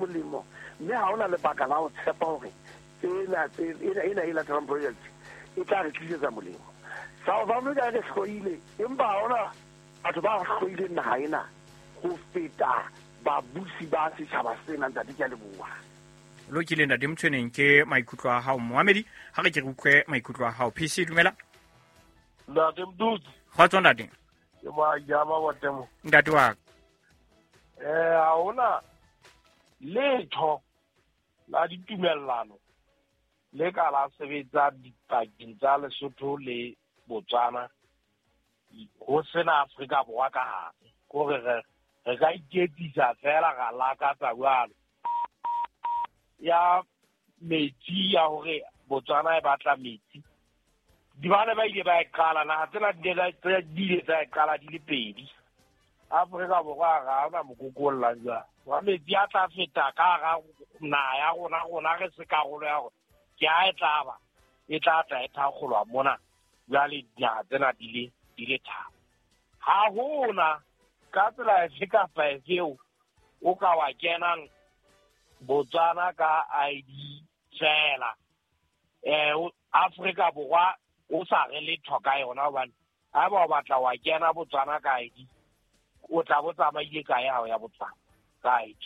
Molemo, mme ha hona lebaka la ho tshepa hore tsena ena e latelang project e tla re tlisetsa molemo. South Africa e re hloile, empa ha hona batho ba hloileng naha ena ho feta babusi ba setjhaba sena. Ntate, ke a leboha. Lokile, ntate Motshweneng, ke maikutlo a hao. Moamedi, ha re ke re utlwe maikutlo a hao. PC, dumela. Ntate Mdutsi. Kgotso, ntate. Ke Majama Botemo. Ntate wa ka. Ha hona letho la ditumellano le ka la sebetsa dipakeng tsa Lesotho le Botswana ho sena Afrika Borwa ka hare. Kore re ka iketsisa fela, ra lakatsa jwalo. Ya metsi, ya hore Botswana e batla metsi, di bane ba ile ba e qala, naha tsena di ile tsa e qala di le pedi. Afrika Borwa ga ona mokokolla jwang wa metsi a tla feta ka hara naha ya rona, rona re se karolo ya rona, ke ha e tla ba e tla tla e thakgolwa mona. Jwale dinaha tsena di le tharo, ha hona ka tsela efe kapa efe eo o ka wa kenang Botswana ka ID fela, Afrika Borwa o sa re letho ka yona, hobane ha eba o batla wa kena Botswana ka ID, o tla bo tsamaile kae ha o ya Botswana ka ID?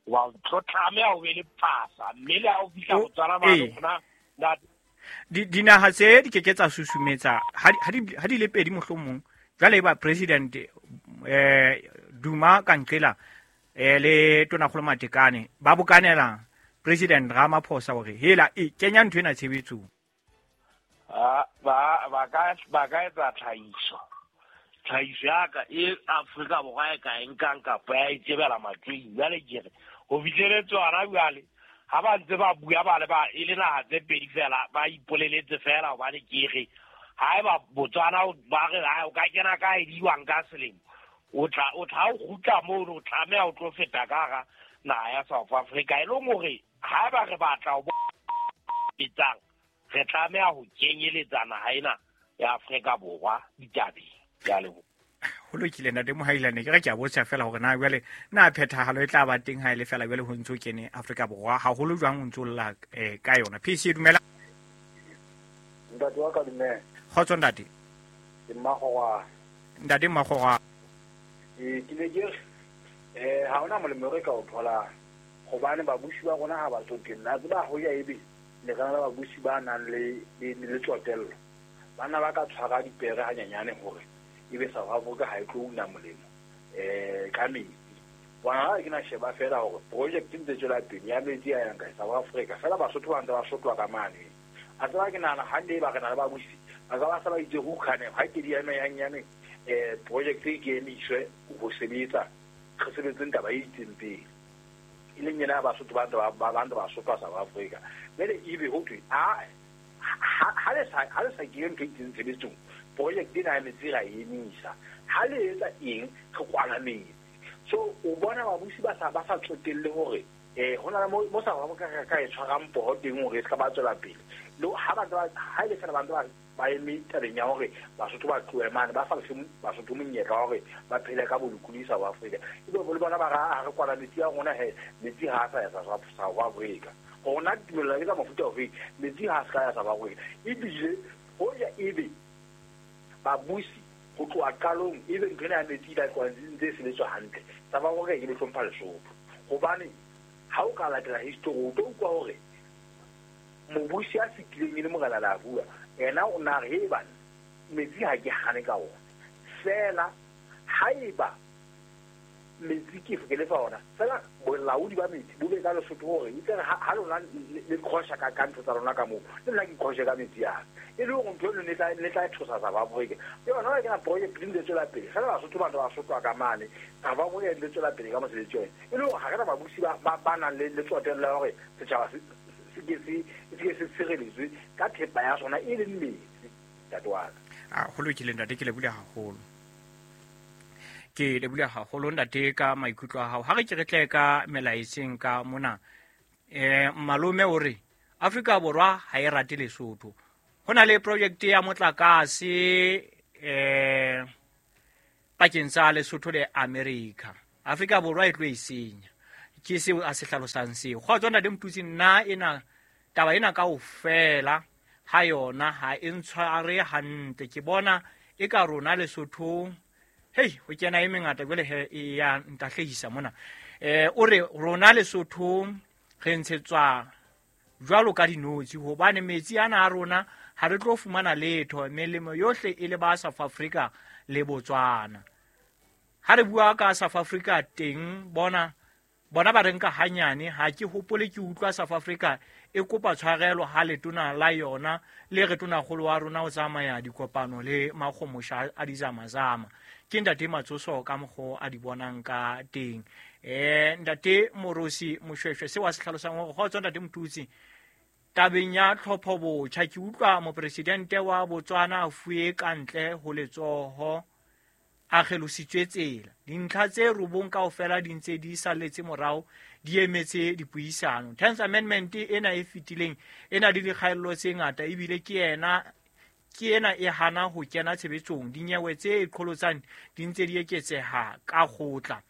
Wa tlo tlameha o be le pasa, mme le ha o fihla Botswana mane rona. Dinaha tse di ke ke tsa susumetsa ha di le pedi. Mohlomong jwale e ba president Duma Kankela le tonakgolo Matekane ba bokanela President Ramaphosa hore hela e kenya ntho ena tshebetsong. Ba ka etsa tlhahiso ya ka e Afrika Borwa e ka e nkang kapa ya e tsebela matsweng. Jwale ke re ho fihleletse hona jwale, ha ba ntse ba bua ba le ba e le naha tse pedi fela, ba ipoleletse fela, hobane ke re ha eba Botswana ba re o ka kena ka ediwang ka selemo, o tla o kgutla mono, o tlameha o tlo feta ka hara naha ya South Africa, e leng hore ha eba re batla ho etsang, re tlameha ho kenyeletsa naha ena ya Afrika Borwa ditabeng. Ke a leboha. Ho lokile, ntate Mohailane. Ke re ke a botsa fela hore na jwale na phethahalo e tla ba teng ha e le fela jwale ho ntso kene Afrika Borwa haholo jwang, o ntso lla ka yona. PC, dumela. Ntate wa ka, dumela. Kgotso, ntate. Ke Mmakgorwana. Ntate Mmakgorwana. Ee, ke ne ke re ha hona molemo re ka o tholang, gobane babusi ba rona ha ba tsotelle. A tseba hoja ebe ne re na le babusi ba nang le tsotello, bana ba ka tshwara dipere hanyenyane hore ebe South Africa ha e tlo una molemo ka metsi. Bona, ha ke na sheba fela hore project ntse tswela pele ya metsi a yang kae South Africa fela, Basotho ba ntse ba sotlwa ka mane. A tseba, ke nahana hande ba re na le babusi ba ka ba sa ba itse ho kgane ha ke di eme yang project e ke emiswe ho sebetsa, re sebetseng taba e itseng pele, e leng yena ya Basotho ba ntse ba sotlwa South Africa. Jwale ebe ho thwe a ha le sa kenye ntho e itseng tshebetsong, project ena ya metsi ra e emisa, ha le etsa eng, re kwala metsi. So o bona babusi ba sa tsotelle hore ho na le mo South Africa ka e tshwarang poho teng hore e se ka ba tswela pele le ha ba ha ile fela ba ntse ba eme tabeng ya hore Basotho ba tlohe mane, ba sa lefe Basotho monyetla wa hore ba phele ka bolokolohi South Africa. Ebe le bona ba ra re kwala metsi a rona, he metsi ha a sa ya South Africa. Rona tumellano ke tsa mofuta ofe? Metsi ha a se ka ya South Africa. Ebile hoja ebe babusi ho tloha qalong ebe ntho ena ya metsi e tla ntse e sebetswa hantle, South Africa ke le hlompha Lesotho, hobane ha o ka latela history o tlo utlwa hore mobusi a fetileng e le Morena Leabua, ena o na re he bana, metsi ha ke hane ka ona fela, haeba metsi ke lefa ona fela, bolaodi ba metsi bo be ka Lesotho, hore itse re ha lona le qhosha ka ntho tsa lona ka moo, le nna ke qhoshe ka metsi ana, e le hore ntho eno ne tla tshosa South Africa. Ke yona ke na project di ntse tswela pele fela, Basotho ba ntse ba sotlwa ka mane, South Africa e ntse tswela pele ka mosebetsi wa yona, e le hore ha re na babusi ba nang le tsotello ya hore setjhaba se ke se tshireletswe ka thepa ya sona e leng metsi, ntate wa ka. A ho lokile, ntate, ke lebohile haholo, ke lebohile haholo, ntate, ka maikutlo a hao. Ha re ke re tle ka melaetseng ka mona. Malome o re Afrika Borwa ha e rate Lesotho, ho na le project ya motlakase pakeng tsa Lesotho le America, Afrika Borwa e tlo e senya. Ke seo a se hlalosang seo. Kgotso ntate Motutsi, nna ena taba ena kaofela ha yona ha e ntshware hantle. Ke bona e ka rona Lesothong, hei, ho kena e mengata jwale he e ya ntahlehisa mona. O re rona Lesothong re ntshetswa jwalo ka dinotshi, hobane metsi ana a rona ha re tlo fumana letho, melemo yohle e le ba South Africa le Botswana. Ha re bua ka South Africa teng, bona ba re nka hanyane. Ha ke hopole ke utlwa South Africa e kopa tshwarelo ha letona la yona le re tonakgolo wa rona o tsamaya dikopano le makgomosha a dizamazama. Ke ntate Matsoso ka mokgo a di bonang ka teng. Ntate Morosi Moshweshwe seo a se hlalosang hore kgotso ntate Motutsi, tabeng ya tlhopho botjha ke utlwa mopresidente wa Botswana a fuwe ka ntle ho letsoho, a kgelositswe tsela. Dintlha tse 9 kaofela di ntse di salletse morao, di emetse dipuisano. 10th Amendment ena e fetileng e na le dikgaello tse ngata, ebile ke ena e hana ho kena tshebetsong. Dinyewe tse qholotsang di ntse di eketseha ka kgotla.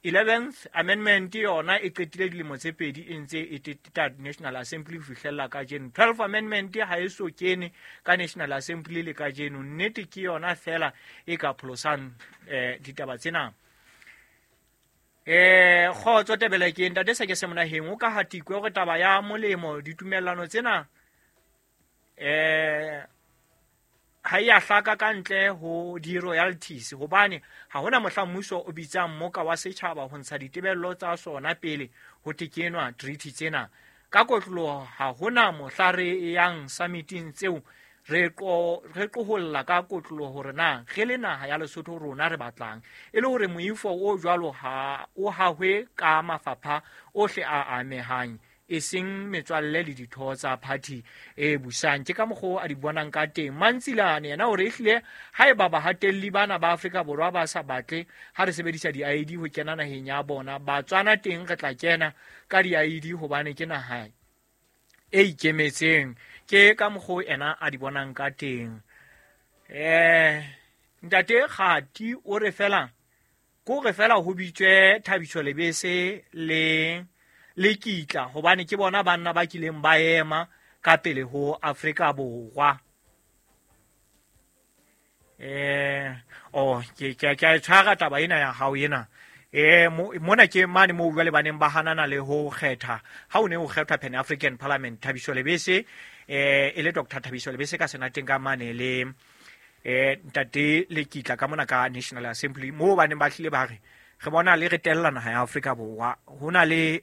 11th Amendment yona e qetile dilemo tse 2 e ntse e teteta National Assembly ho fihlella kajeno. 12th Amendment ha e so kene ka National Assembly le kajeno. Nnete ke yona fela e ka pholosang ditaba tsena. Kgotso Tebele, ke ntate se ke se monaheng o ka hatikwe hore taba ya molemo ditumellano tsena ha e a hlaka ka ntle ho di-royalties, hobane ha hona mohla mmuso o bitsang mmoka wa setjhaba ho ntsha ditebello tsa sona pele ho tekenwa treaty tsena. Ka kotloloho ha hona mohla re yang summiting tseo re qoholla ka kotloloho hore na re le naha ya Lesotho rona re batlang, e le hore moifo o jwalo ha o hahwe ka mafapha ohle a amehang, e seng metswalle le ditho tsa party e busang. Ke ka mokgwa a di bonang ka teng. Mantsilane yena hore ehlile haeba bahatelli bana ba Afrika Borwa ba sa batle ha re sebedisa di-ID ho kena naheng ya bona, Batswana teng re tla kena ka di-ID hobane ke naha e ikemetseng. Ke ka mokgwa ena a di bonang ka teng. Ntate Kgati o re fela ko re fela ho bitswe Thabiso Lebese le Kitla, hobane ke bona banna ba kileng ba ema ka pele ho Afrika Borwa. Ke a tshwara taba ena ya hao ena. Mona ke mane moo jwale ba neng ba hanana le ho kgetha ha o ne o kgethwa Pan African Parliament, Thabiso Lebese e le Dr. Thabiso Lebese ka senateng ka mane le ntate le Kitla ka mona ka National Assembly, moo ba neng ba hlile ba re re bona le re tella naha ya Afrika Borwa, ho na le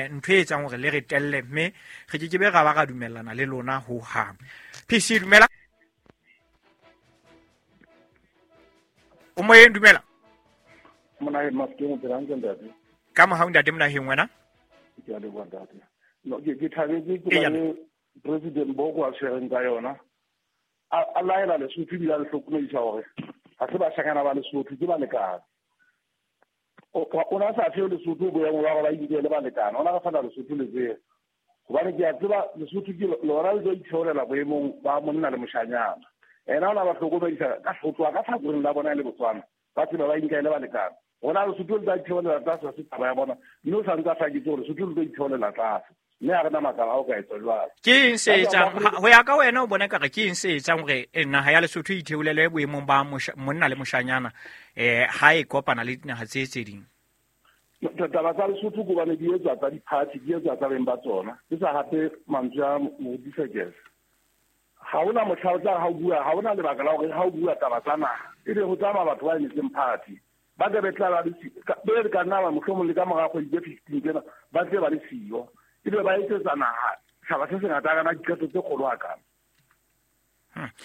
ntho e etsang hore le re telle, mme re ke ke be ra ba ra dumellana le lona ho hang. PC dumela. O moyeng, dumela. Monaheng Mafikeng, o phela hantle ntate? Ka mohau ntate Monaheng, wena? Ke a leboha ntate. No, ke thabetse tsela e President Boko a tshwereng ka yona. A laela Lesotho ebile a le hlokomedisa hore ha se bashanyana ba Lesotho, ke balekane. O na sa fe Lesotho boemo ba hore ba inkele balekane, o na re fana Lesotho letsela. Hobane ke a tseba Lesotho ke lona le tlo itheolela boemong ba monna le moshanyana. Ena o na ba hlokomedisa ka ho tloha ka tlhakoreng la bona e le Botswana, ba tseba ba inkele balekane. Rona Lesotho le tla itheolela tlase, ha se taba ya bona, mme o sa ntse a hlaketse hore Lesotho le tlo itheolela tlase, mme ha re na makala a o ka etsa jwalo. Ke eng se etsang ho ya ka wena o bona ekare ke eng se etsang hore naha ya Lesotho e itheolele boemong ba monna le moshanyana ha e kopana le dinaha tse tse ding? Taba tsa Lesotho ke hobane di etswa tsa di-party, di etswa tsa beng ba tsona. Ke sa hape mantswe a Moruti Sekese. Ha hona mohla o tla ha o bua, ha hona lebaka la hore ha o bua taba tsa naha ebe ho tsamaya batho ba emetseng party. Ba tla be tla ba le be ka nna ba mohlomong le ka mora kgwedi tse 15 tsena ba tle ba le siyo, ebe ba etsetsa naha setjhaba se sengata kana diqeto tse kgolo hakana.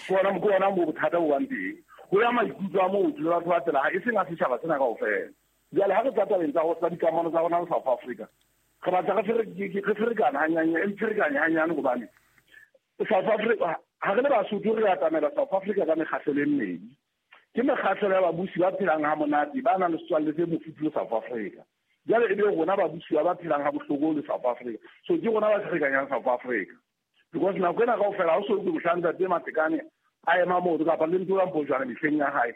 Ke ona moo bothata bo bang teng. Ho ya maikutlo a motho le batho ba tsela e seng a setjhaba sena kaofela. Jwale ha re tla tabeng tsa dikamano tsa rona le South Africa, re batla re ferekana hanyane, e ferekane hanyane hobane South Africa ha re le Basotho re atamela South Africa ka mekgahlelo e mmedi. Ke mekgahlelo ya babusi ba phelang ha monate, ba nang le setswalle se mofuthu le South Africa. Jwale e be rona babusi ba phelang ha bohloko le South Africa. So ke rona ba ferekanyang South Africa. Because nako ena kaofela ha o so utlwe mohla ntate Matekane a ema moo kapa le ntho ya Mpojwana mehleng ya hae,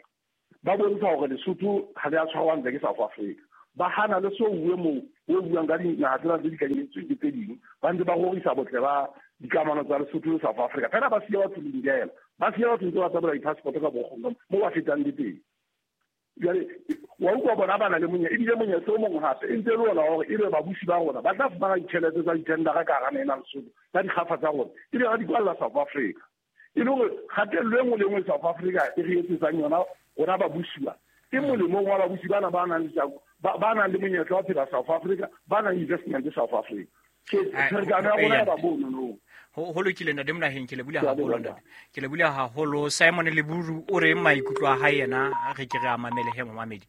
ba bontsha hore Lesotho ha le a tshwarwa hantle ke South Africa. Ba hana le so uwe moo O buang ka dinaha tsena tse dikanyeditsweng ke tse ding, ba ntse ba rorisa botle ba dikamano tsa Lesotho le South Africa. Fela ba siya batho lindela, ba siya batho ntse ba tsamaya di-passport ka bokgong mo ba fetang le teng. Jwale wa utlwa bona ba na le monyetla, ebile monyetla o mongwe hape e ntse e le ona hore ebe babusi ba rona ba tla fumana ditjhelete tsa dithendara ka hara naha ena Lesotho tsa dikgafa tsa rona, ebe ba di kwalla South Africa. E le hore kgatello e nngwe le nngwe South Africa e re etsetsang yona rona babusiwa ke molemong wa babusi bana ba nang le ba nang le monyetla wa phela South Africa, ba nang investment South Africa. So pherekano ya rona ya ba bono no. Ho lokile ntate Monaheng, ke lebohile haholo ntate. Ke lebohile haholo. Simon Leburu o reng maikutlo a hae yena, re ke re a mamele he momamedi.